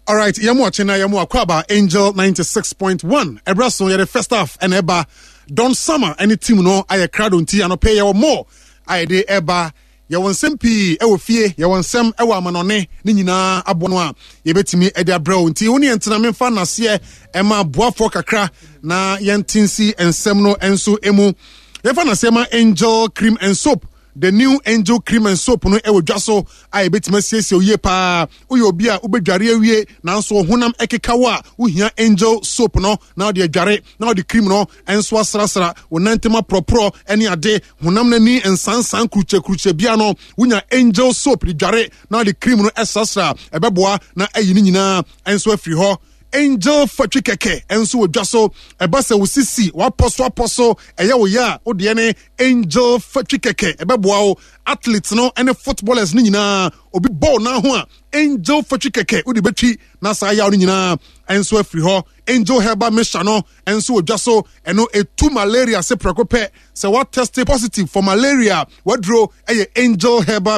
Alright, yɛn mu ɔkye na yɛn mu akɔ Angel 96.1. Ɛbrɛ so yɛde first half ɛna ɛba. Don Summer ɛne team no ayɛ krado nti anɔpɛ yɛwɔ more a yɛde ɛba. Yɛwɔ nsɛm pii ɛwɔ fie, yɛwɔ nsɛm ɛwɔ amanɔne ne nyinaa aboa no a yɛbɛtumi ɛde abrɛ wo. Nti wo ne yɛn tena memfa naseɛ ɛma aboafoɔ kakra na yɛnte nsi nsɛm no nso emu. Yɛmfa naseɛ ma Angel Cream and Soap. The new Angel Cream and Soap no wɔ dwa so a ebetumi asiesie wo yie paa. Woyɛ obi a wobɛdware awie nanso wo honam ɛkeka wo a, wohia Angel Soap no na wode adware na wode cream no nso asrasra wo nan ntam aporɔporɔ ne ade. Honam no ani nsansan kurukyɛkurukyɛ bia no, wonya Angel Soap de dware na wode cream no srasra a, ɛbɛboa na ayi ne nyinaa nso afiri hɔ. Angel fatwi kɛkɛ nso wɔ dwa so. Ɛba sɛ wo sisi wapɔ so apɔ so ɛyɛ wo yɛ a, wo deɛ ne Angel fatwi kɛkɛ ɛbɛboa wo. Athletes no ne footballers no nyinaa, obi bɔɔl nan ho a, Angel fatwi kɛkɛ wode bɛtwi na saa yaw no nyinaa nso afiri hɔ. Angel herbal mixture no nso wɔ dwa so, ɛno ɛtu malaria se prɛko pɛ. Sɛ woatɛste positive for malaria, waduro ɛyɛ Angel herbal.